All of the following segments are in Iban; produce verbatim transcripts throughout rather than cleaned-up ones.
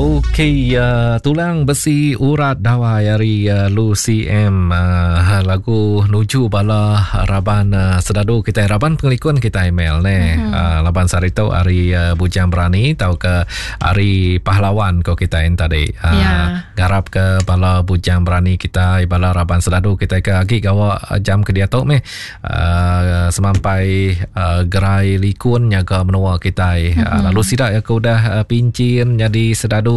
Okey, uh, tulang besi urat dawai hari uh, Lucy M, uh, lagu nuju bala raban uh, sedadu kita, raban pengelikun kita email ne. Mm-hmm. Uh, laban sehari tu hari uh, Bujang Berani atau ke hari pahlawan ko kita yang tadi. Uh, yeah. Garap ke bala Bujang Berani kita, bala raban sedadu kita ke agi gawa jam ke dia tu meh. Uh, semampai uh, gerai likun nyaga menua kita. Mm-hmm. Uh, lalu sidak ya ke udah uh, pincin jadi sedadu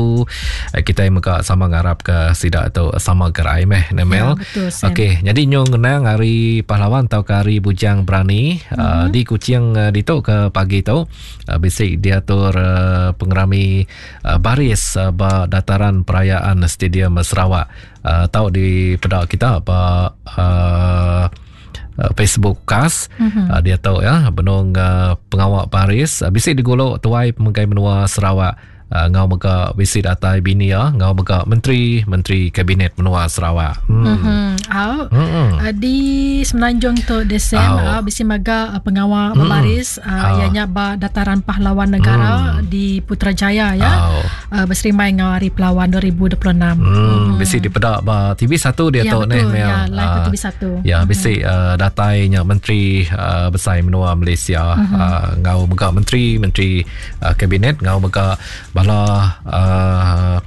kita mega sama ngarap ke sidak tu sama gerai meh Nemel. Ya, okey, jadi nyong ngenang hari pahlawan atau ke hari Bujang Berani mm-hmm. uh, di Kuching uh, ditu ke pagi tu uh, bisi diatur uh, pengerami uh, baris uh, ba dataran perayaan Stadium Sarawak. Uh, tau di pedak kita ba uh, Facebook kas mm-hmm. uh, dia tahu ya benung uh, pengawak baris uh, bisi digolok tuai pemegai menua Sarawak. Uh, ngau mega bisi datai bini ya, ngau mega menteri menteri kabinet menua Sarawak. Hmm. Mm-hmm. Au. Mm-hmm. Uh, di Semenanjung tu Desem oh. uh, bisi mega uh, pengawal mm. berbaris uh, ianya ba dataran pahlawan negara mm. di Putrajaya ya. Oh. Uh, berserimai ngau hari pahlawan dua ribu dua puluh enam. Hmm. Mm. Bisi dipedak ba T V satu dia ya, tu neh Mel. Ya, live uh, T V satu. Ya, bisi mm. uh, datainya menteri uh, besar menua Malaysia mm-hmm. uh, ngau mega menteri menteri uh, kabinet ngau mega bala uh,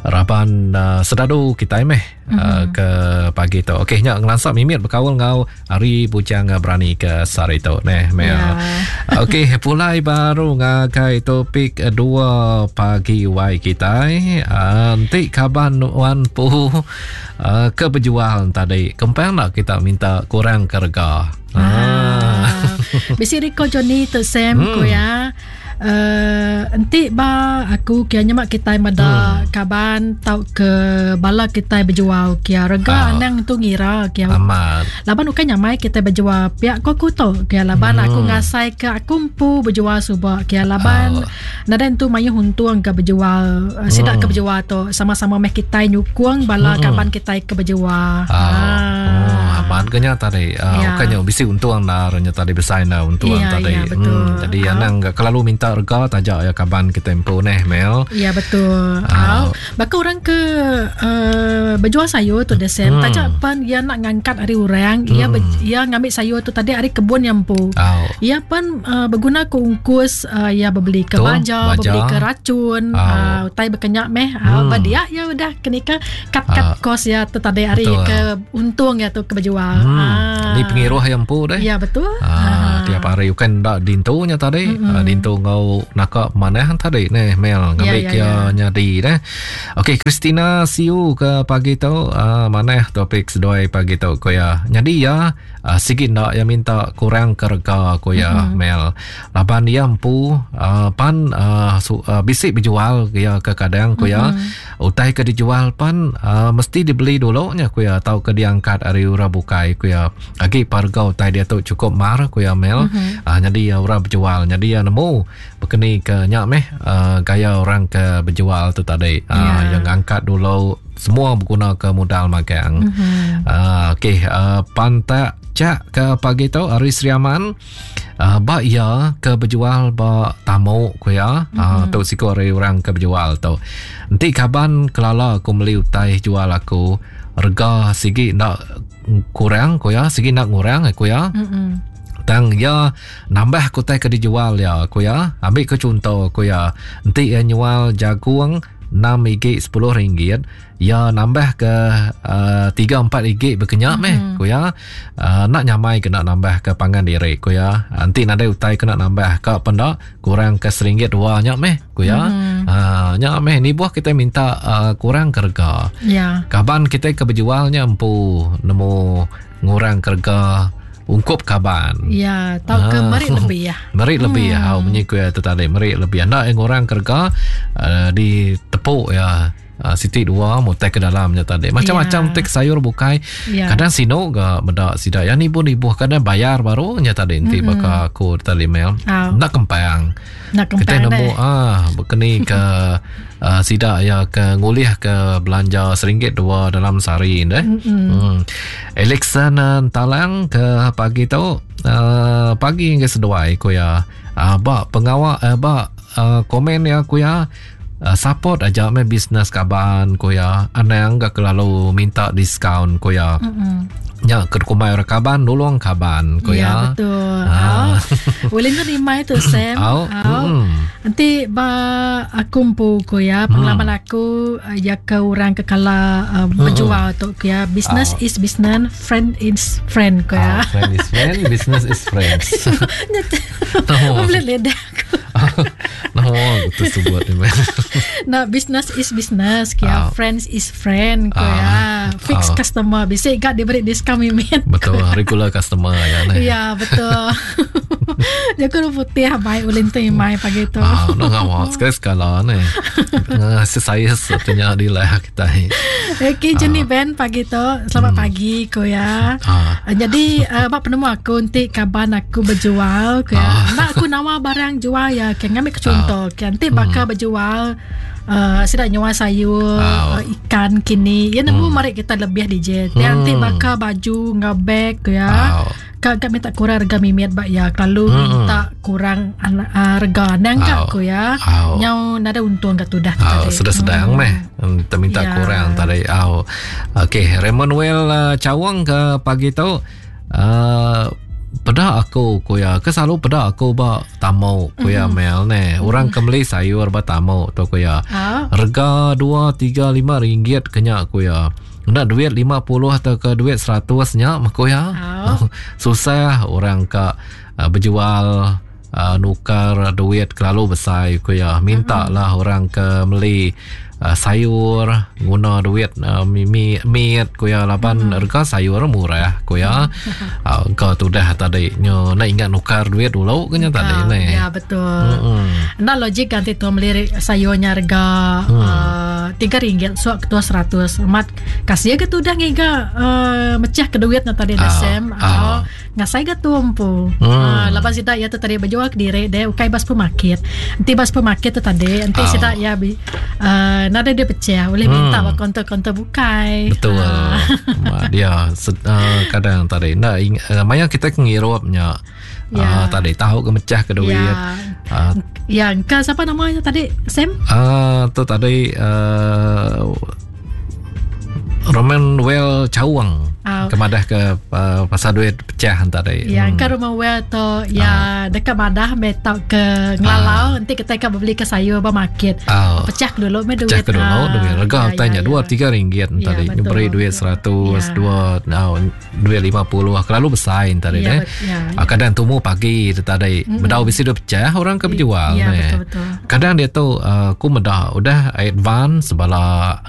raban uh, sedadu kita meh mm-hmm. uh, ke pagi tu. Okey, nya ngelansap mimit berkaul ngau hari Bujang Berani ke sehari tu neh Mel. Yeah. Okey, pulai baru ngagai topik dua pagi Y kita. Uh, nanti kaban wan pu uh, ke berjual tadi. Kempang nak kita minta kurang ke rega. Ah. Bisi Rico Johnny tu Sam hmm. ku ya. Uh, enti ba aku kia nyemak kita mada hmm. kaban tau ke bala kita berjual kia rega oh. anang tu ngira kia amat laban bukan nyamai kita berjual pihak ko aku tu kia laban hmm. aku ngasai ke aku empu berjual subak kia laban oh. nadan tu mayu untung ke berjual uh, sidak hmm. ke berjual tu sama-sama meh kita nyukung bala hmm. kaban kita ke berjual. Oh. Ah. Oh, amat kenya tadi uh, ya. Bukannya bisi untung lah renya tadi besar nah untung ya, tadi. Ya, betul. Hmm, jadi oh. anang kalau minta rega tajak ya kaban kita tempo neh Mel. Ya betul. Uh. Oh. Baka orang ke uh, berjual sayur tu desem hmm. tajak pan ia nak ngangkat hari orang, hmm. ia ber, ia ngambil sayur tu tadi hari kebun yang empu. Oh. Ia pan uh, berguna ke ungkus uh, ia berbeli ke betul, baja, baja, berbeli ke racun, oh. uh, utai berkenyak meh. Hmm. Uh, dia ya udah kenika cut-cut uh. kos ya tu tadi hari betul. Ke untung ya tu ke berjual. Hmm. Ah. Ni pengiruh yang empu deh. Ya betul. Ah, ah. Tiap hari bukan dak dintunya tadi. Mm-hmm. Uh, dintu ngau nakak manah tadi neh Mel ngambil ya, ya, kia ya. nyadi deh. Okey, Christina Siu ke pagi tu uh, manah topik sedoi pagi tu ko ya. Nyadi ya uh, sikit nak yang minta kurang ke rega ko ya mm-hmm. Mel. Laban dia empu uh, pan uh, su, uh, bisik berjual ya ke kadang ko ya. Mm-hmm. Utai ke dijual pan uh, mesti dibeli dulu nya ko ya atau ke diangkat ari ura bukai ko ya. Agi harga utai dia tu cukup mar ko ya Mel. Mm-hmm. Uh, jadi ya orang berjual jadi ya nemu berkeni ke nyak meh uh, gaya orang ke berjual tu tadi uh, yeah. yang angkat dulu semua berguna ke modal magang. Mm-hmm. Uh, okey, uh, pantak cak ke pagi tu hari Sri Aman uh, ba ya ke berjual ba tamu ku ya. Mm-hmm. Uh, tu siku hari orang ke berjual tu. Nanti kaban kelala aku beli utai jual aku rega sigi nak kurang ku ya, sigi nak ngurang aku ya. Mm-hmm. Tang ya nambah kutai ke dijual ya aku ya. Ambil ke contoh aku ya. Nanti ya nyual jagung enam ringgit sepuluh ringgit ya nambah ke uh, tiga empat ringgit berkenyak mm-hmm. meh ku ya. Uh, nak nyamai kena nambah ke pangan diri ku ya. Nanti nadai utai kena nambah ke pendak kurang ke seringgit dua nyak meh ku ya. Mm-hmm. Uh, nyak meh ni buah kita minta uh, kurang ke rega. Ya. Kaban kita ke berjualnya empu nemu ngurang ke rega ungkup kaban. Ya, tau ke Ah. merik lebih ya. Merik lebih Hmm. ya. Hau menyiku ya tu tadi merik lebih. Ndak yang orang kerja uh, ditepuk ya. Uh, siti dua mutai ke dalamnya tadi. Macam-macam Ya. tek sayur bukai. Ya. Kadang sino ga medak sidak. Ya ni pun ibu kadang bayar baru nya tadi nanti Mm-mm. baka aku tadi mail. Au. Nak kempang. Nak Kita kempang nemu deh. ah berkeni ke uh, sidak ya ke ngulih ke belanja seringgit dua dalam sehari deh. Mm-mm. Hmm. Alexander Talang ke pagi tu uh, pagi hingga seduai ku ya. Uh, bak pengawak uh, bak uh, komen ya ku ya. Uh, support aja meh bisnes kaban ko ya. Anang ga kelalu minta diskaun ko ya. Mm-hmm. Nya ke kumai orang kaban nulung kaban ko ya. Ya betul. Ha. Boleh tu rimai tu Sam. Au. Mm. Nanti ba aku empu ko ya pengalaman mm. aku ya ke orang ke kala uh, berjual tu ko ya, business is business, friend is friend ko ya. Ah, friend is friend, business is friends. No. Boleh lidah aku. No, tersebut ni. Nah, business is business ko ya, friends is friend ko ya. Fix customer bisa gak diberi diskaun mimin. Betul, regular customer ya. Ya, betul. Dia kudu putih baik ulin tu mai pagi tu. Ah, no ngawak sekali sekala ni. Saya satunya di lah kita. Okey, jenis Ben pagi tu. Selamat hmm. pagi ko ya. Ah. Jadi uh, bab penemu aku nanti kaban aku berjual ko ya. Ah. Nak aku nawar barang jual ya, kan ngambil contoh. Ah. Kan nanti bakal hmm. berjual uh, sidak nyawa sayur, ah. uh, ikan kini. Ya nemu hmm. mari kita lebih D J. Hmm. Nanti bakal baju ngau bag ko ya. Ah. Kak kak minta kurang rega mimit bak ya. Kalau hmm. minta kurang uh, rega nang kak ko ya. Nyau nada untung kat tudah tadi. Sedang-sedang hmm. meh. Kita minta ya. kurang tadi. Au. Okey, Raymond Well uh, cawang ke pagi tu. Uh, peda aku ko ya. Ke selalu peda aku ba tamu ko ya mm. Mel ne. Orang mm. ke beli sayur ba tamu tu ko ya. Rega dua tiga lima ringgit kenya ko ya. Nak duit lima puluh atau ke duit seratus nya mako ya. Oh. Susah orang ke uh, berjual uh, nukar duit kelalu besar ko ya. Minta lah mm-hmm. orang ke beli uh, sayur guna duit uh, mi mi ko ya laban mm-hmm. harga sayur murah ko ya. Uh, kau tu dah tadi nyo nak ingat nukar duit dulu kenya tadi uh, ni. Ya betul. Mm-hmm. Nak logik kan tu beli sayurnya harga mm. uh, tiga ringgit suak ketua seratus. Mat kasih ke tu dah ngiga uh, mecah ke duit na tadi dah Sam. Uh, ngasai ke tu empu. Hmm. Uh, lepas sidak ya tu tadi berjual ke diri deh ukai bas supermarket. Nanti bas supermarket tu tadi nanti oh. sidak ya bi uh, nada dia pecah boleh hmm. minta ba konter-konter bukai. Betul. Uh. Dia uh, kadang tadi nak uh, maya kita ngirupnya. Ya. Uh, tadi tahu ke mecah ke duit. Ya. Uh, ya, ke siapa namanya tadi Sam? Ah, uh, tu tadi uh, Roman Well Cawang. Uh, Kemadah ke uh, pasal duit pecah tadi. Ya, hmm. ke Roman Well tu ya uh. dekat madah metak ke ngelalau uh. nanti kita akan beli ke sayur ba market. Uh. Pecah dulu me duit. Pecah ke dulu uh. duit. Rega ya, tanya ya, dua ya. tiga ringgit ya, tadi. Beri duit seratus ya. dua no, duit lima puluh kelalu besar tadi ya, eh. Ya, ya. Kadang tumu pagi tadi mm-hmm. bedau bisi dia pecah orang ke berjual ya, ne. Betul, betul. Kadang dia tu uh, ku medah udah advance bala